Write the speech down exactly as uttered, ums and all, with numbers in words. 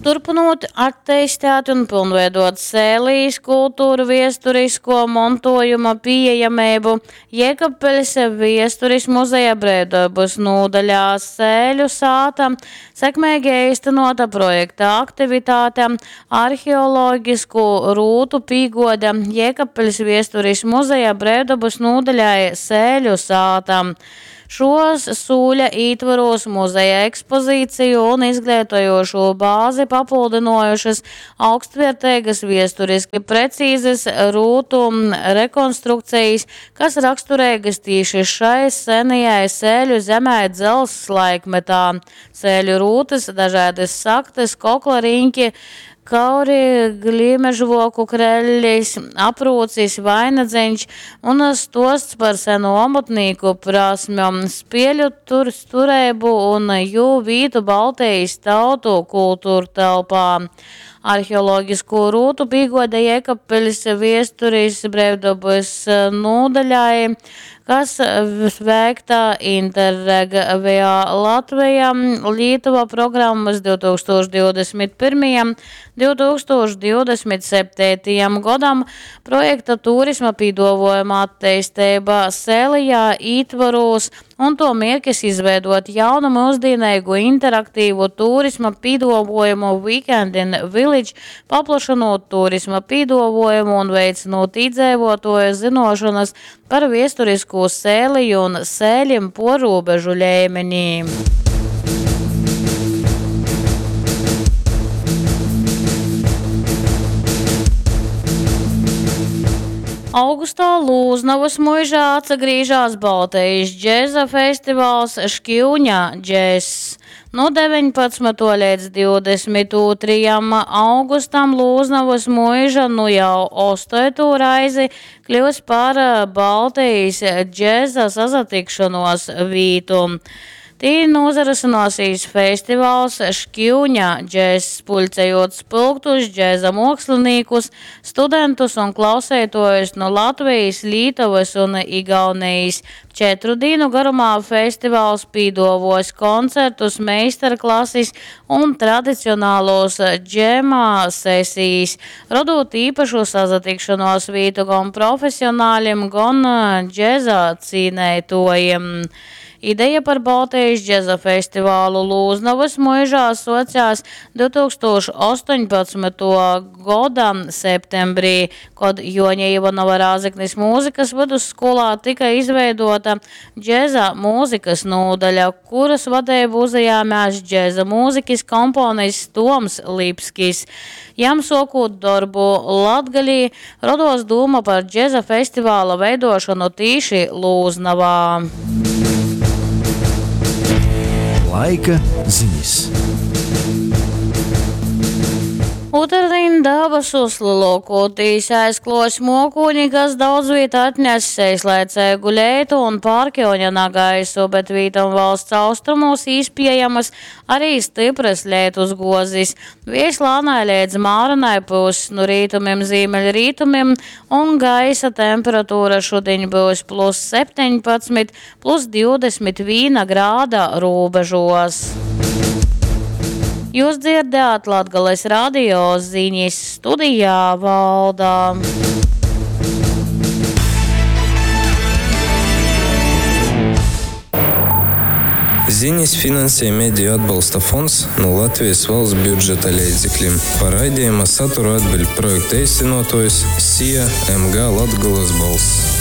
Turpynot atteistēt un pilnveidot Sēlijas kulturviesturisko montuojuma pīejameibu, Jēkabpiļs Viesturis muzeja breivdobys nūdaļā Sēļu sāta sekmeigi eistynuota projekta aktivitate Arheologisku rūtu pīguode Jēkabpiļs Viesturis muzeja breivdobys nūdaļai Sēļu sāta. Šuos sūļa ītvorūs muzeja ekspozīciju un izgleitojūšū bāzi papyldynuojušys augstvierteigys viesturiski precīzys rūtu rekonstrukcejis, kas rakstureigys tīši šai senajai Sēļu zemei dzelzs laikmetā. Sēļu rūtys, dažaidys saktys, kokla riņki, kauri, glīmežvuoku krellis, aprūcis, vainadzeņš un stuosts par senu omotnīku prasmjom, spieļu tur tureibu un jū vītu Baltejis tautu kulturtelpā. Arheologiskū rūtu pīguode Jēkabpiļs Viesturis breivdobys nūdaļai, kas veikta Interreg Via Latvija Lietuva programmys divtūkstūš divdesmit pyrmajam divtūkstūš divdesmit septeitajam godam projekta turisma pīduovuojuma atteisteiba Sēlijā ītvorūs un tuo mierkis izveidot jaunu myusdīneigu interaktīvu turisma pīduovuojumu Weekend in Village, paplašynot turisma pīduovuojumu un veicinot īdzeivuotuoju zynuošonys par viesturiskū Sēliju un sēļim puorrūbežu leimenī. Augustā Lūznavas muižā atsagrīžās Baltejis džeza festivals Škiuņa džezs. Nu deveņpadsmytuo leidz divdesmit ūtrajam augustam Lūznavas muiža nu jau ostoitū reizi kļūs par Baltejis džeza sasatikšanos vītu. Tī nūzarysynuosīs festivals Škiuņa džezs, puļcejot spylgtus džeza muokslinīkus, studentus un klauseituojus nu Latvejis, Lītovys un Igaunejis. Četru dīnu garumā festivals pīduovuos koncertus, meistarklasis un tradicionālos džema sesijis, rodūt īpašu sasatikšanos vītu gon profesionāļim, gon džeza cīneituojim. Ideja par Baltejis džeza festivālu Lūznavas muižā suocās divtūkstūš ostoņpadsmytuo goda septembrī, kod Juoņa Ivanova Rāzeknis mūzikas vidusskolā tika izveidota džeza mūzikas nūdaļa, kuras vadeibu uzajāmās džeza mūzikis komponists Toms Lipskis. Jam sokūt dorbu Latgalī, roduos dūma par džeza festivāla veidošanu tīši Lūznavā. Laika ziņas. Ūtrdien dabasus lielākoties aizklos mokūņi, kas daudz viet atnes eislaicīgu leitu un pārkjoņa nagaisu, bet vītam valsts austrumos īspējamas arī stipras leitus gozis. Viejs lānai līdz mārenai pūs nu rītumim ziemeļrītumim un gaisa temperatūra šodien būs plus septiņpadsmit, plus divdesmit viena grāda robežos. Jūs dzirdējāt Latgales radio ziņas studijā Valda. Ziņas finansē Mediju atbalsta fonds no Latvijas valsts budžeta līdzekļiem. Par raidījuma saturu atbild projekta īstenotājs S I A M G Latgales balss.